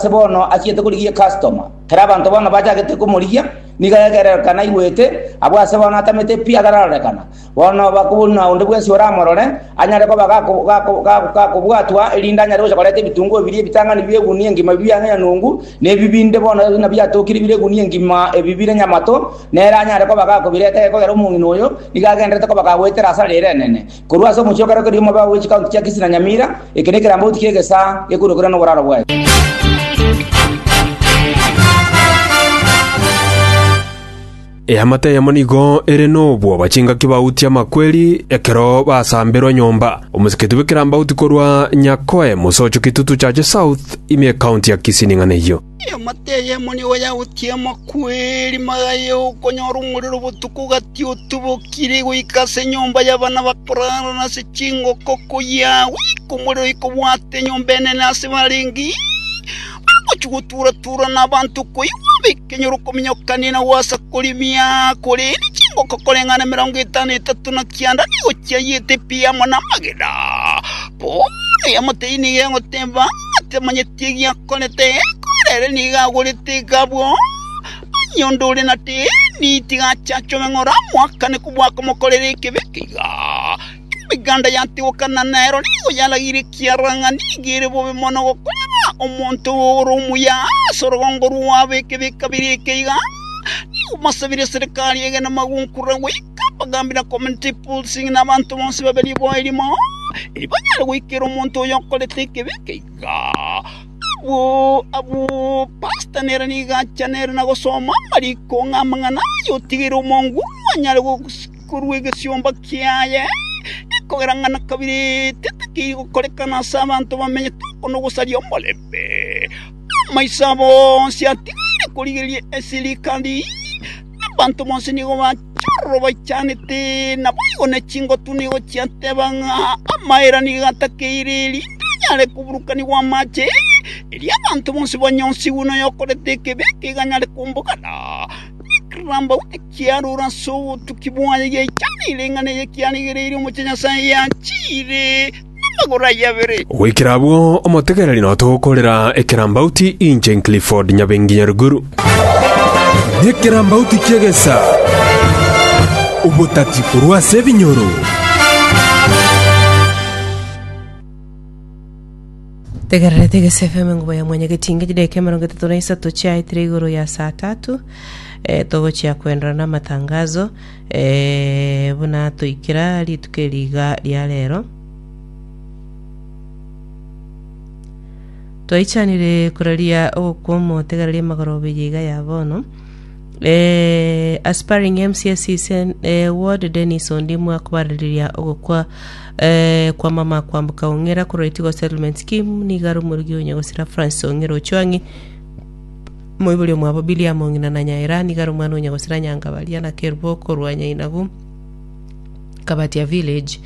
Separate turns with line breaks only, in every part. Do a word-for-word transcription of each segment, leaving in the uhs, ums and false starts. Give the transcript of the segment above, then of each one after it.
Ase bono achiete korigia customer, kera abanto bono bachagete komorigia, nigo egererekana aigwete, abwo ase bono atamete pi atararorekana. Bono bakobuna onde bwensi oramorore, anyare koba gako- gako- gako- gakobwatwa, erinde anyare gocha koreta ebitunguo biria ebitang'ani bia egunia engima biang'e nyanungu, na ebi binde bono buna biatokire bire egunia engima ebi bire nyamato, nere anyare koba gakobireta gekogera omong'ina oyo, nigo agenderete koba kagoetera asara ere enene. Korwa ase omochie o Keroka erio omobe bwe chikaunti chia Kisii na Nyamira, eke nekerambauti kia egesaa gekorokera noboraro bwaye.
Eamate eyemo nigo ere nobwoba chingaki bautia amakweri ekero basamberwa nyomba. Omosiketi bw'ekerambauti korwa Nyakoe Mosocho Kitutu Chache South ime ekaunti ya Kisii ning'ana eyio.
Eamate eyemo nigo yautia amakweri magaye okonyora omorero botuko gati otubokire goika ase enyomba y'abana bakorara na ase chingoko koyia goika omorero ikobwata enyomba enene ase barenge bagochia gotura-tura n'abanto koigwa bekenyoro kominyokania na gwasa korimia korende chingoko koreng'ana emerongo etano etato na kianda nigo chiayete pi amo namagena. Bono eamate eyio nigo egoteba ng'a tamanyeti egiakorete, ekogera ere nigo agorete egabwo. Onye onde ore na deni, tiga ache achobe ng'ora amoakane kobua komokorera ekebe eke iga. Emeganda yatigokana nero nigo yarageire ekiagera ng'a nigo ere bobe mono gokorera omonto ore omuya ase orogongo rwabo ekebe kabere eke iga. Nigo basabire eserekari egene magunkura goika abagambi na community policing na abanto bonsi babe riboa erimo, erio banyare goikera omonto oyo okorete ekebe eke iga. Abwo abwo pastor nere nigo acha nere na gosoma amariko ng'a amang'ana aya otigire omonguru anyare korwa egesiomba kiaye, ekogera ng'a na kabere tetakeiri gokorekana ase abanto bamenyete oko nogosaria omorembe. Amaiso abo onsi atigaire korigereria esirikari, na abanto bonsi nigo bachororo baichanete, naboigo ne chingotu nigo chiateba ng'a amaera nigo atakeire erinde anyare koburukanigwa amache, erio abanto bonsi banyonsigwe noyokorete ekebe eke anyare kombogana. Ekerambauti kiarure ase obotuki bwaye giaichaneire ing'ana eye kiarigereirie omochie Nyasae yachiire namagoro aye abere.
Goikera abwo omotegereri notogokorera ekerambauti inche Clifford Nyabengi Nyaruguru.
Nekerambauti ki'egesa obotati korwa ase ebinyoro.
Tegererete Egese F M engubo ya mwanyagetinga chidaeka emerongo etato na isato chiaetire igoro ya saa tatu eh, togochia kwenderera na amatangazo eh, buna toikera rituko eri iga ria rero. Twaichanire koraria ogokwa omotegereria amagoroba eye iga ya bono. Eh, aspiring M C S Sen, eh, Ward Dennis Ondimu akobarareria ogokwa eh, kwa mama Kwamboka Ong'era korwa Itigo Settlement Scheme nigo are omorugi o Nyagosira Francis Ong'era Ochwang'i moibori omwabo Billiam Ong'ina na Nyaera nigo are omwana o Nyagosira Nyangabaria na Kerubo korwa Nyainagu Kabatia Village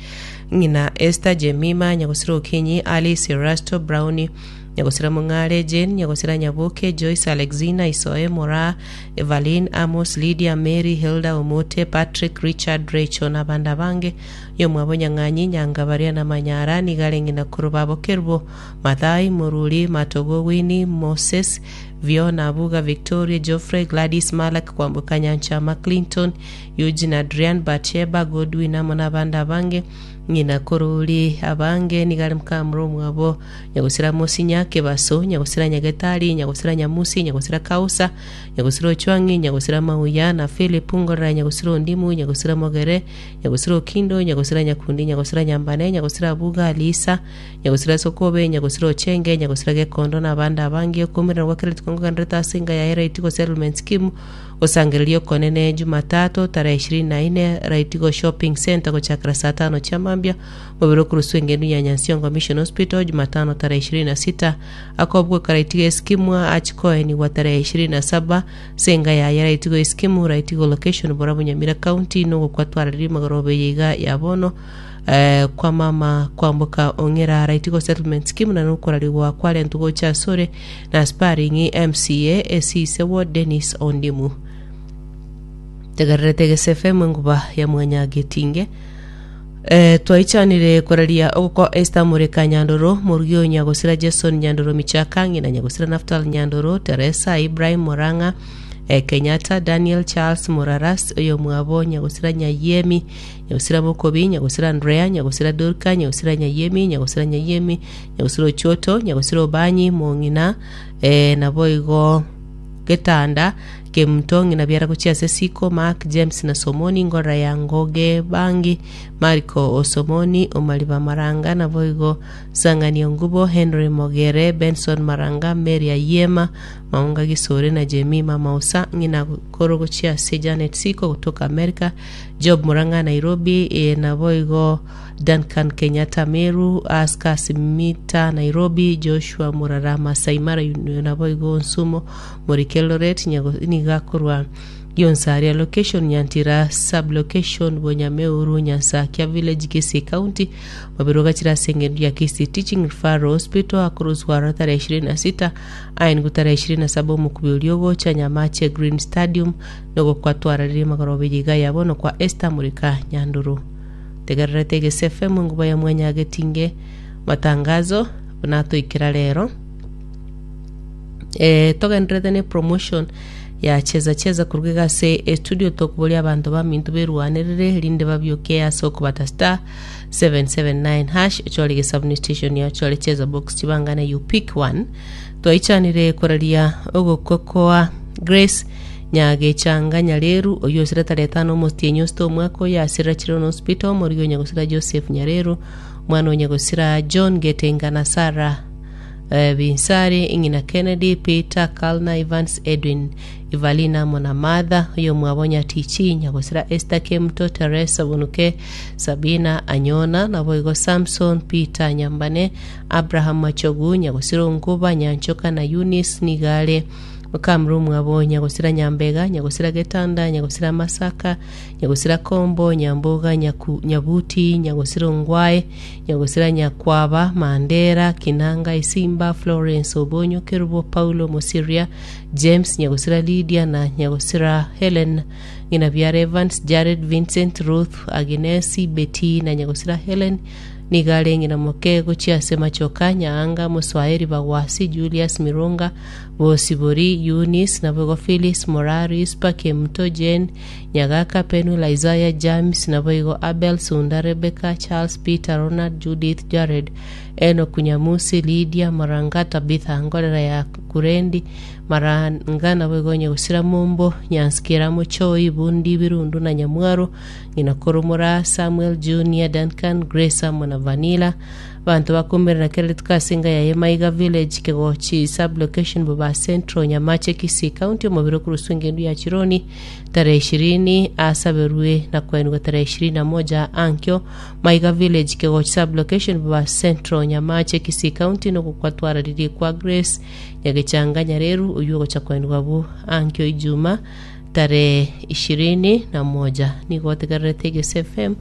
ng'ina Esther Jemima Nyagosira Okinyi Alice Erasto Brownie Nyagosira Mong'are Jane Nyagosira Nyaboke Joyce Alexina Isoe Moraa Evaline Amos Lydia Mary Hilda Omote Patrick Richard Rachel na abande abange oyomwabo Nyang'anyi Nyangabaria na Manyara nigo are ng'ina korwa babo Kerubo Mathai Moruri Matogo Winnie Moses Viona Abuga Victoria Geoffrey Gladys Malak Kwamboka Nyanchama Clinton Eugene Adrian Batsheba Godwin amo nabande abange ng'ina korori abange nigo are mokamura omwabo Nyagosira Mosinya Kebaso Nyagosira Nyagetari Nyagosira Nyamusi Nyagosira Kausa Nyagosira Ochwang'i Nyagosira Mauya na Philip Ngorera Nyagosira Ondimu Nyagosira Mogere Nyagosira Okindo Nyagosira Nyakundi Nyagosira Nyambane Nyagosira Abuga Alisa Nyagosira Sokobe Nyagosira Ochenge Nyagosira Gekondo na abande abange okomerana gwa kera rituko ngogenderete ase enga yaye Raitigo Settlement Scheme gosangereria okonene Jumatatu tarehe ishirini na ine Raitigo Shopping Centre gochakera saa tano chia mambia mobere okoruswa engendu ya Nyansiongo Mission Hospital Jumatano tarehe ishirini na sita akobweka Raitigo Eskimu achikoenigwa tarehe ishirini na saba ase enga yaye Raitigo Eskimu Raitigo Location Borabu Nyamira County nogokwa twararirie magoroba eye iga ya bono eh, kwa mama Kwamboka Ong'era Raitigo Settlement Scheme na nokorarigwa kwarentwa gocha asore na aspiring M C A Esise Ward Dennis Ondimu. Tegererete Egese F M enguba ya mwanyagetinge. Eh, twaichanire koraria ogoko Esther Mureka Nyandoro Murugio Nyagosira Jason Nyandoro Michaka ng'ina Nyagosira Naftal Nyandoro Teresa Ibrahim Moranga eh, Kenyatta Daniel Charles Muraras oyo mwabo Nyagosira Nyayemi Nyagosira Mokobi Nyagosira Andrea Nyagosira Dorka Nyagosira Nyayemi Nyagosira Nyayemi Nyagosira Ochoto Nyagosira Obanyi Mong'ina eh, naboigo getanda kemuto ng'ina biara gochia ase siko Mark James na Somoni ngora ya Ngoge Bangi Mariko Osomoni Omariba Maranga naboigo Sang'anio Ngubo Henry Mogere Benson Maranga Mary Ayema Maunga Gisore na Jemima Mausa ng'ina koro gochia ase Janet Siko kutoka America Job Muranga Nairobi e, naboigo Duncan Kenyatta Meru Aska Simita Nairobi Joshua Murara Masai Mara naboigo Nsumo Morike Loret nigakorwa Gionsaria location Nyantira sublocation Bonyameuru Nyansakia village Kisii County mabiro gachira ase ya Kisii Teaching Referral Hospital akuruswaro tarehe ishirini na sita ain tarehe ishirini na saba omukubi oriogocha Nyamache Green Stadium nogokwatwararirie magorobe yiga yabo nokwa Esther Murika Nyanduru tegererete Gese F M nguba ya mwenya getinge matangazo bunatoikira rero e, togenderete ne promotion ya cheza cheza kuruga ase estudio tokuboria abanto baminto berwanerere rinde babioke ase okobata star seven seven nine hash ochore gesabuni station ya ochore cheza box chibangana you pick one twaichanire koraria ogokokoa Grace Nyagechanga Nyareru oyo osira tarehe tano omotienyi osito omwaka oyo asirira Children Hospital omorigi onyagosira Joseph Nyareru omwana onyagosira John Getenga na Sarah eh, Binsari ing'ina Kennedy Peter Kalna Evans Edwin Evalina Monamadha oyo mwabonya Tichi Nyagosira Esther Kemto Teresa Bonuke Sabina Anyona naboigo Samson Peter Nyambane Abraham Machogu Nyagosira Nkuba Nyanchoka na Eunice Nigale Mukamru mwabo Nyagosira Nyambega Nyagosira Getanda Nyagosira Masaka Nyagosira Kombo Nyamboga Nyaku, Nyabuti Nyagosira Ngwae Nyagosira Nyakwaba Mandera Kinanga Isimba Florence Obonyo Kerubo Paulo Mosiria James Nyagosira Lydia na Nyagosira Helen ng'ina biara Evans Jared Vincent Ruth Agnesi Betty na Nyagosira Helen nigare ng'ina moke gochia ase machoka Nyaanga Moswaeri Bagwasi Julius Mironga Bosibori Eunice naboigo Phyllis Moraris Pakemto Jane Nyagaka Penuel Isaiah James naboigo Abel Sunda Rebecca Charles Peter Ronald Judith Jared Enoch Nyamusi Lydia Maranga Tabitha Ngorera ya Kurendi Maranga naboigo Nyagosira Mombo Nyansikira Mochoi Bundi Birundu na Nyamwaro ng'ina Koromora Samuel Junior Duncan Grace amo na Vanilla bantu bakumirana kerere tukasinga ya Maiga village Kegochi sublocation Baba Central Nyamache Kisii County omobiro kurusu engendu ya Chironi tarehe ishirini asaberwe na kwenwa tarehe ishirini na moja ankyo Maiga village Kegochi sublocation Baba Central Nyamache Kisii County nogokwatwararirie kwa Grace Nyagechanga Nyareru oyu ogocha kwenwa bu ankyo Ijuma tarehe ishirini na moja nigotegererete Gese F M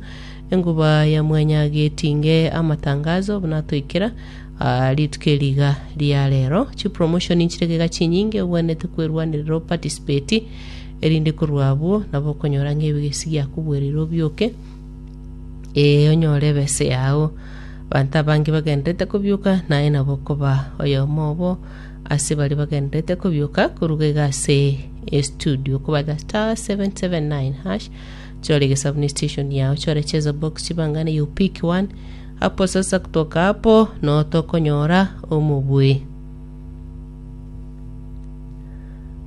enguba ya mwenya getinge amatangazo bunatoikira uh, rituko riga ria rero chi promotion inchiregega chinyinge obwanete kwerwanirira participate erinde korwabwo nabo okonyora ng'ebigesi giakobwerire obioke e onyore ebese yao banto abange bagenderete kobioka naye nabo okoba oyomo obo ase bari bagenderete kobioka koruga iga ase estudio kobata star seven seven nine hash chore gesabuni station yao chore cheza box chibangane you pick one hapo sasa kutoka hapo no tokonyora omubui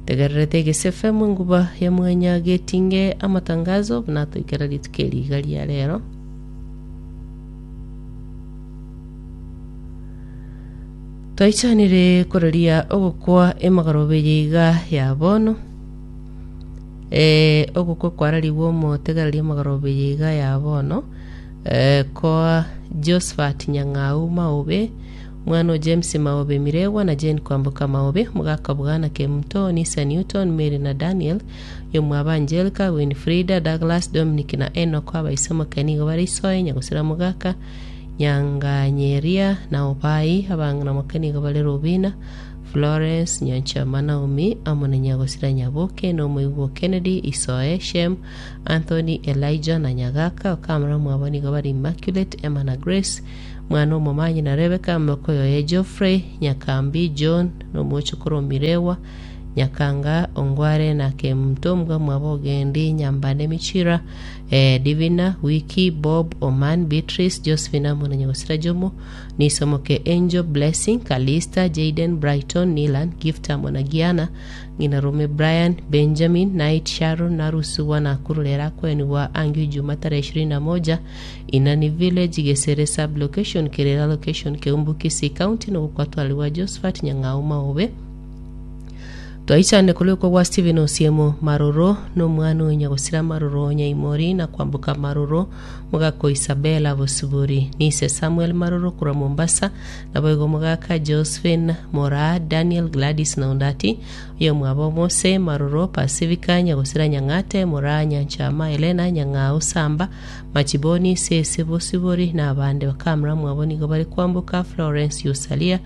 tegererete Gese F M nguba ya mwenya getinge amatangazo bunatoikera rituko eriga ria rero twaichanire koraria ogokwa emagarobe yiga ya bono eh ogokwa kwarariwo omotegereria emagarobe yiga ya bono eh kwa Josephat Nyang'au Maobe mwana o James Maobe Miregwa na Jane Kwamboka Maobe mugaka bwana Kemto Nisa Newton Mary na Daniel yomwaba Angelica Winfrida Douglas Dominic na Enoch abaisemo kenigo barisoe nyagosira mugaka Nyanganyeria na Obai abang'ina mokenigo bare Rubina Florence Nyanchama Naomi amo na Nyagosira Nyaboke na omoigwa Kennedy Isoe Shem Anthony Elijah na Nyagaka okamara mwabo nigo bari Immaculate Emma na Grace mwana omomanyi na Rebecca mokoyoye Geoffrey Nyakambi John na omochokoro Mirewa Nyakanga Ongware na Kemtombwa mwabo Ogendi Nyambane Michira eh, Divina Wiki Bob Oman Beatrice Josephine amo na Nyagosira Jomo Nisomoke Angel Blessing Kalista Jaden Brighton Nilan Gift amo na Giana ng'ina Rome Brian Benjamin Knight Sharon Narusuwa na kurulera kweniwa angi Juma tarehe ishirini na moja Inani Village Gesere sub location Kerera location Keumbu Kisii County nogukwatwaliwa Josephat Nyang'au Maobe twaichane kuliko gwa Steven Osiemo Maroro n'omwana oyo Nyagosira Maroro Nyaimori na kwambuka Maroro mugako Isabella Bosibori nise Samuel Maroro kurwa Mombasa naboigo mugaka Josephine Mora Daniel Gladys na Ondati oyo mwabo Mose Maroro Pacifica Nyagosira Nyang'ate Mora Nyanchama Elena Nyang'au Samba Machiboni Sese Bosibori na abande bakamura mwabo nigo bari kwambuka Florence Yusalia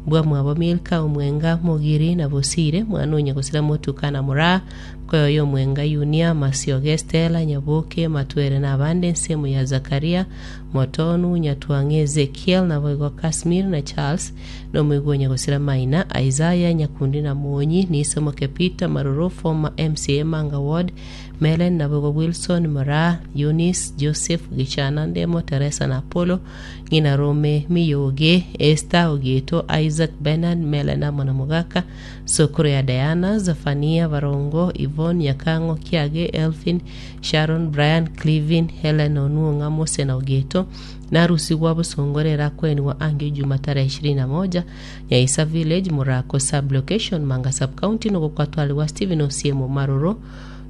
mbwa mwabo Milka Omwenga Mugiri na Bosire mwana Nyagosira Motuka na Mura koyoyo Omwenga Yunia Masioge Stella Nyaboke Matwere na abande ensemo ya Zakaria Motonu Nyatwang'e Ezekiel na boigo Kasmir na Charles n'omoigwa Nyagosira Maina Isaiah Nyakundi na Mwonyi Nisomoke Peter Maroro former M C A Manga Ward Melen na boigo Wilson Mara Eunice Joseph Gichana Ndemo Teresa na Apollo ng'ina Rome Miyoge Esther Ogeto Isaac Bernard Melen amo na Mugaka Sokoro ya Diana Zafania Barongo Yvonne Nyakango Kiage Elfin Sharon Brian Clevin Helen Onuonga Mose na Ogeto narusigwa busongorera kweniwa angi Juma tarehe ishirini na moja Nyaisa Village Murako sub location Manga sub county nogokwatwaliwa Stephen Osiemo Maroro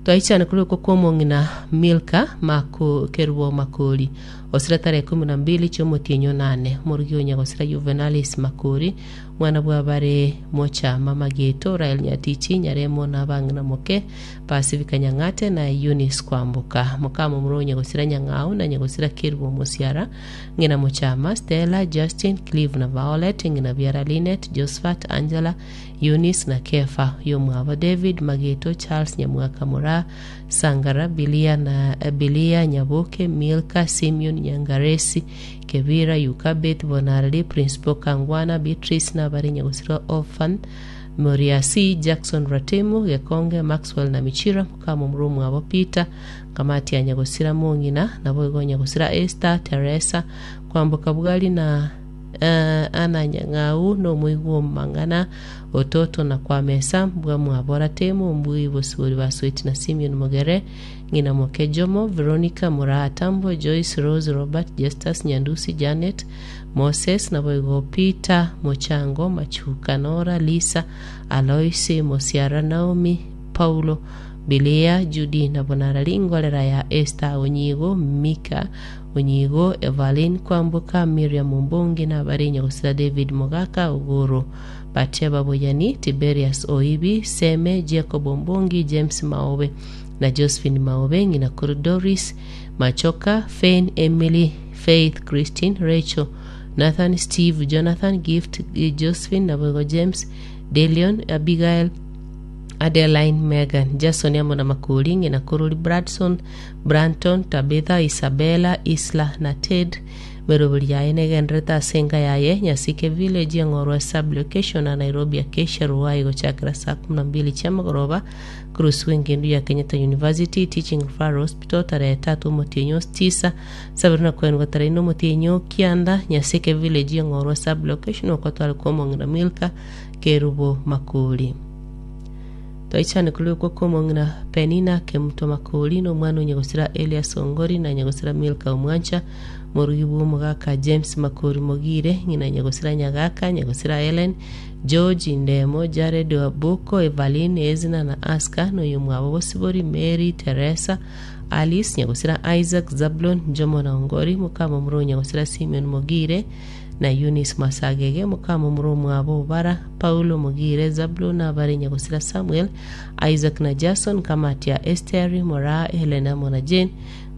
twaichane kuliko kwomong'ina Milka mako Kerubo Makori osira tarehe kumi na mbili chomotienyo nane morugi Nyagosira Juvenalis Makori mwana bwabare Mochama Mageto Rael Nyatichi Nyaremo na bang'ina moke Pacifica Nyang'ate na Eunice Kwambuka mukamo muro Nyagosira Nyang'au na Nyagosira Kerubo Musiara ng'ina Mochama Stella Justin Clive na Violet ng'ina Biara Linet Josephat Angela Eunice na Kefa yomwabo David Mageto Charles Nyamwaka Mura Sangara Bilia na Bilia Nyaboke Milka Simeon Nyangaresi Kebira Yukabeth Bonarli Principal Kangwana Beatrice na bari Nyagosira Orphan Moriasi Jackson Ratemo Gekonge Maxwell na Michira mukamo murumu abo Peter kamati ya Nyagosira Mong'ina nabo Nyagosira Esther Teresa Kwamboka Bwali na uh, ana Nyang'au n'omoigwa omumang'ana ototo na kwamesa mbwa mwabora temo mbui bosibori basweti na Simeon Mogere ng'ina moke Jomo Veronica Muratambo Joyce Rose Robert Justus Nyandusi Janet Moses naboigo Peter Mochango Machuka Nora Lisa Aloisi Mosiara Naomi Paulo Bilia Judy na Bonarali ngolera ya Esther Onyigo Mika Onyigo Evelyn Kwambuka Miriam Mbongi na bari Nyagosira David Mogaka Ogoro Batsheba Boyani Tiberius Oibi Seme Jacob Mbongi James Maobe na Josephine Maobe ng'ina kuru Doris Machoka Fane Emily Faith Christine Rachel Nathan Steve Jonathan Gift Josephine naboigo James Delion Abigail Adeline Megan Jason amo na Makori ng'ina Korori Bradson Branton Tabitha Isabella Isla na Ted merobori yaye negenderete ase enka yaye Nyasike Village eng'orwa sub location na Nairobi Acacia Ruai gochakera saa kumi na mbili chiamagoroba Cruz Wengendu ya Kenyatta University Teaching Referral Hospital tarehe tatu omotienyo tisa sabiri na kwenwa tarehe ine omotienyo kianda Nyasike Village eng'orwa sub location okwatware kwomong'ina Milka Kerubo Makori twaichane kuliko komong'ina Penina Kemuto Makori n'omwana onyagosira Elias Ongori na nyagosira Milka Omwancha morugi bwa omogaka James Makori Mogire ng'ina nyagosira Nyagaka nyagosira Helen George Ndemo Jared Wabuko Evelyn Ezina na Aska n'oyo mwabo Bosibori Mary Teresa Alice nyagosira Isaac Zablon Jomo na Ongori mukama omuro nyagosira Simeon Mogire na Eunice Masagege mukama omuro mwabo Obara Paulo Mogire Zablon abare nyagosira Samuel Isaac na Jason kamati ya Esther Mora Helena Mona Jane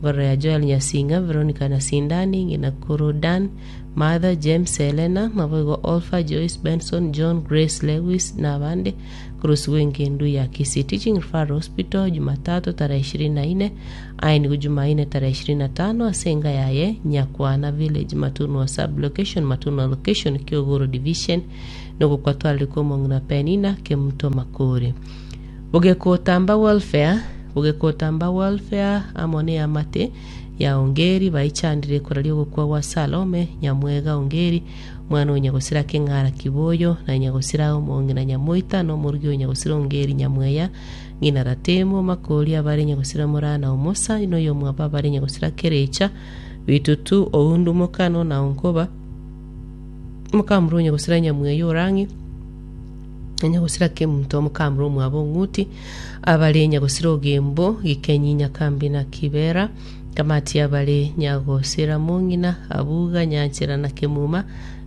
Ngorora ya Joel Nyasinga, Veronica Nasindani, ng'ina koro Dan, Martha James Helena, naboigo Olfa Joyce Benson, John Grace Lewis na abande kurusiwa engendu ya Kisii Teaching Referral Hospital Jumatatu tarehe ishirini na nne ainigo Jumanne tarehe ishirini na tano ase enga yaye Nyakwana Village Matunwa sub location Matunwa location Kiogoro division nogokwatwarire omong'ina Penina Kemuto Makori bogekotamba welfare bogekotamba welfare amo ne amate ya Ongeri baichandire koraria ogokwa gwa Salome Nyamwega Ongeri mwana o Nyagosira Keng'ara Kiboyo na Nyagosira omong'ina Nyamoita na omorugi o Nyagosira Ongeri Nyamweya ng'ina Ratemo Makori abare Nyagosira Morana Omosa noyo omwabo abare Nyagosira Kerecha Bitutu Oundu Mokano na Onkoba mokamuro Nyagosira Nyamweya Orang'i Nyagosira Kemunto omokamuro omwabo Ong'uti abare Nyagosira Ogembo Gikenyi Nyakambi na Kibera kamati abare Nyagosira Mong'ina Abuga Nyanchera na Kemuma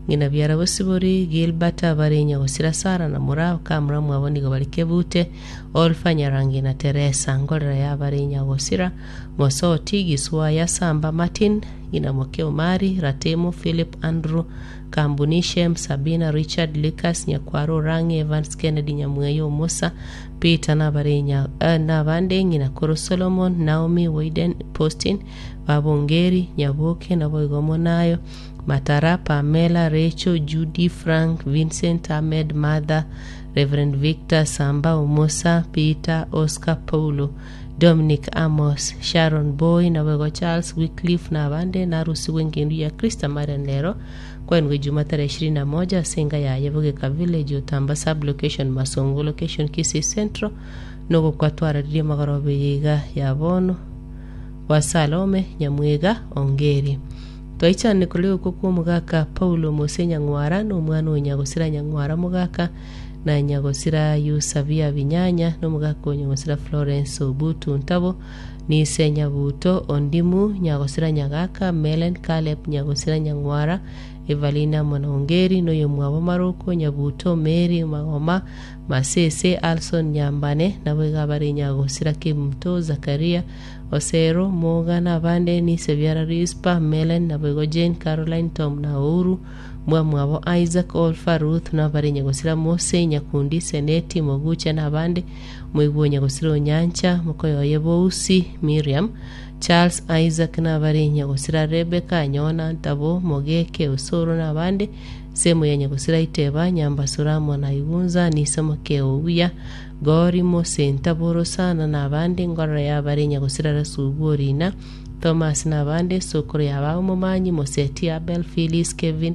ng'ina biara Bosibori Gilbert abare Nyagosira Sara na Mura kamura mwabo nigo bari Kebute Olfa Nyarangi na Teresa ngorera yabare Nyagosira Mosoti Giswaya Samba Martin ng'ina Moke Omari Ratemo Philip Andrew Kambunishem Sabina Richard Lucas Nyakwaro Rangi Evans Kennedy Nyamweyo Omosa Peter nabare nya eh, nabande ng'ina koro Solomon Naomi Waiden Postin Babongeri Nyaboke naboigo Monayo Matara Pamela Rachel Judy Frank Vincent Ahmed Martha Reverend Victor Samba Omosa Peter Oscar Paulo Dominic Amos Sharon Boy naboigo Charles Wycliffe nabande narusiwe engendu ya Krista Marian lero kwenwe Juma tarehe ishirini na moja senga ya Yebogeka Village Otamba sub location Masongo location Kisii Central nogo kwatwararirie magorobe yiga ya bono wa Salome Nyamwega Ongeri twaichane kuri uko kwa omogaka Paulo Mose Nyang'wara na omwana o Nyagosira Nyang'wara mogaka na Nyagosira Yusabia Binyanya na omogaka o Nyagosira Florence Obutu Ntabo nise Nyabuto Ondimu Nyagosira Nyagaka Melen Caleb Nyagosira Nyang'wara Evalina Mwanongeri noyo mwabo Maroko Nyabuto Mary Magoma Masese Alson Nyambane nabo iga bari Nyagosira Kemuto Zakaria Osero Moga nabande nise Biara Rispa Melen nabo igo Jane Caroline Tom na Ouru mwa mwabo Isaac Olfa Ruth nabari Nyagosira Mose Nyakundi Seneti Mogucha nabande mwigwo Nyagosira Onyancha mukoyoye Bousi Miriam Charles Isaac nabari Nyagosira Rebecca Nyona Ntabo Mogeke Osoro nabande semo ya Nyagosira Iteba Nyambasura Mwana Igunza nisemoke Obuya Gori Mose Ntaboro sana nabande ngorora yabari Nyagosira Rasubu Orina Thomas nabande sokoro yababo Momanyi Moseti Abel Phyllis Kevin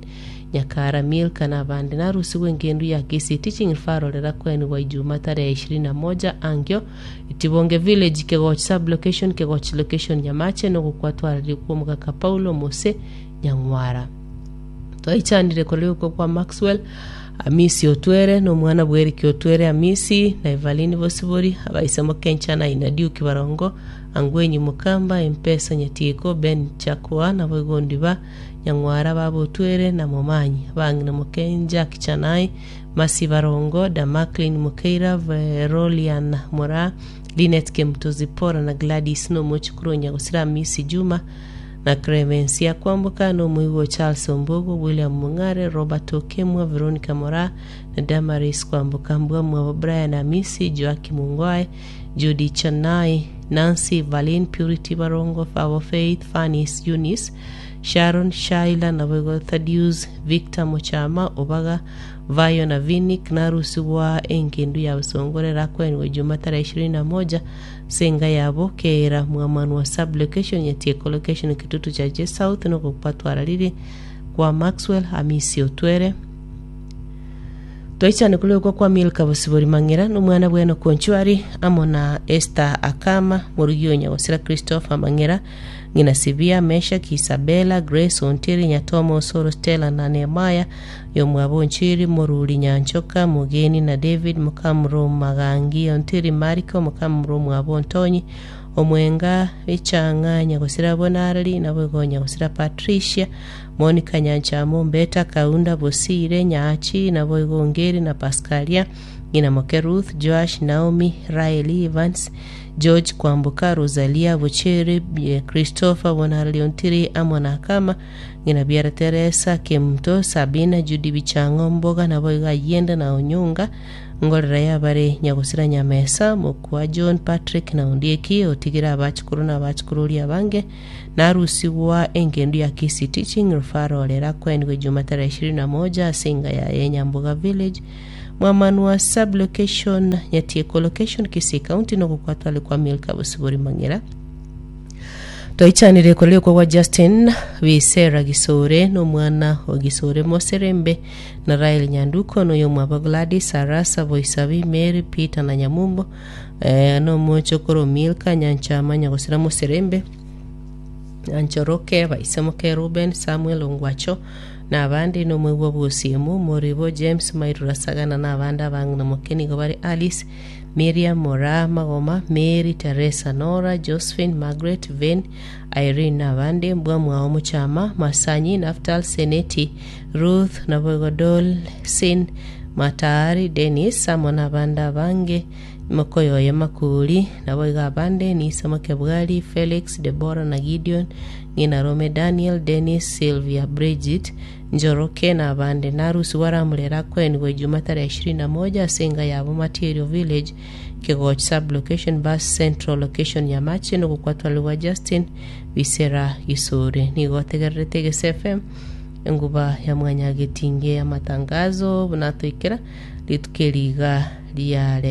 Nyakara Milka nabande narusiwe engendu ya Kisii Teaching Referral rera kwenu wa Ijumaa tarehe ishirini na moja angyo Itibonge Village Kegoch sub location Kegoch location Nyamache nogokwatwarire kwa omogaka Paulo Mose Nyang'wara twaichanire kori uko kwa Maxwell Amisi Otwere na omwana bweriki Otwere Amisi na Evelyn Bosibori abaisemo Kencha na Inadiuki Barongo Angwenyi Mukamba Empesa Nyatiko Ben Chakwa na boigondi ba Nyang'wara babo Otwere na Momanyi abang'ina Mokenja Kichanai Masi Barongo Damaklin Mukeira Verolian Mora Linet Kemto Zipora na Gladys Nomochukuru Nyagosira Amisi Juma na Clemencia Kwamboka no muigo Charles Ombogo William Mung'are Robert Okemwa Veronica Mora na Damaris Kwamboka Mbwa Mwabo Brian Amisi Joakim Mungwae Judy Chanai Nancy Valin Purity Barongo Our Faith Fanis Eunice Sharon Shaila na Boigo Thaddeus Victor Mochama Obaga Vayo na Vinik narusiwa engendu ya busongorera kwenwe Juma tarehe ishirini na moja senga yabo keera mwamanu wa sub location yatieko location kitutu cha J South nokupatwararire kwa Maxwell Hamisi Otwere twaichane kulekwa kwa Milka Bosibori Mang'era n'omwana bweno Konchwari amo na Esther Akama murugi o Nyagosira Christopher Mang'era ng'ina Sibia Meshak Isabella Grace Ontiri Nyatomo Osoro Stella na Nehemaya yomwabo Nchiri Moruri Nyanchoka Mugeni na David Mukamuro Magangi Ontiri Mariko Mukamuro mwabo Ntonyi Omwenga Ichang'a Nyagosira Bonarari nabo Nyagosira Patricia Monica Nyanchamo Mbeta Kaunda Bosire Nyachi nabo Ngeri na Pascalia Ng'ina moke Ruth, Joash, Naomi, Raeli, Evans, George Kwamboka, Rosalia Bochere, eh, Christopher Bonarleontiri amo na Kama, ng'ina biara Teresa, Kemto, Sabina, Judy Bichango, Mboga nabo iga Ayenda na Onyonga, ngorera yabare nyagosira Nyamesa, mokwa John Patrick na Ondieki, otigera abachukuru na abachukururi abange, narusigwa engendu ya Kisii Teaching Referral era kwenigwe Juma tarehe ishirini na moja asinga ya Yenyamboga Village mwamanwa sub location Nyatieko location Kisii County nogokwatwale kwa Milka Bosibori Mang'era. Twaichanire korekwa gwa Justin Bisera Gisore n'omwana wa Gisore Moserembe na Rael Nyanduko n'oyo mwaba Gladys Arasa Boisabi Mary Peter na Nyamumbo, eh, n'omochokoro Milka Nyanchama Nyagosira Moserembe Anchoroke Baisemoke Ruben Samuel Ongwacho na abandi n'omwegwa bwosiemu Moribo James Mairura Sagana na abandi abang'ina moke nigo bari Alice Miriam Mora Magoma Mary Teresa Nora Josephine Margaret Vane Irene na abandi mbwa mwao Muchama Masanyi Naftal Seneti Ruth Nabogodol Sin Matari Dennis amo na abandi abange mokoyoye Makuri nabo iga abande Nisa Makebwali Felix Deborah na Gideon ng'ina Rome Daniel Dennis Sylvia Bridget Njoroke na abande. Narusi waramurera kwenigwe Juma tarehe ishirini na moja asenga yabo Material Village Kegoch sub location bus central location Nyamache nogokwatwaliwa Justin Bisera Gisore. Nigo ategererete Gese F M enguba ya mwanya getinge ya matangazo bunatoikera rituke riga riare.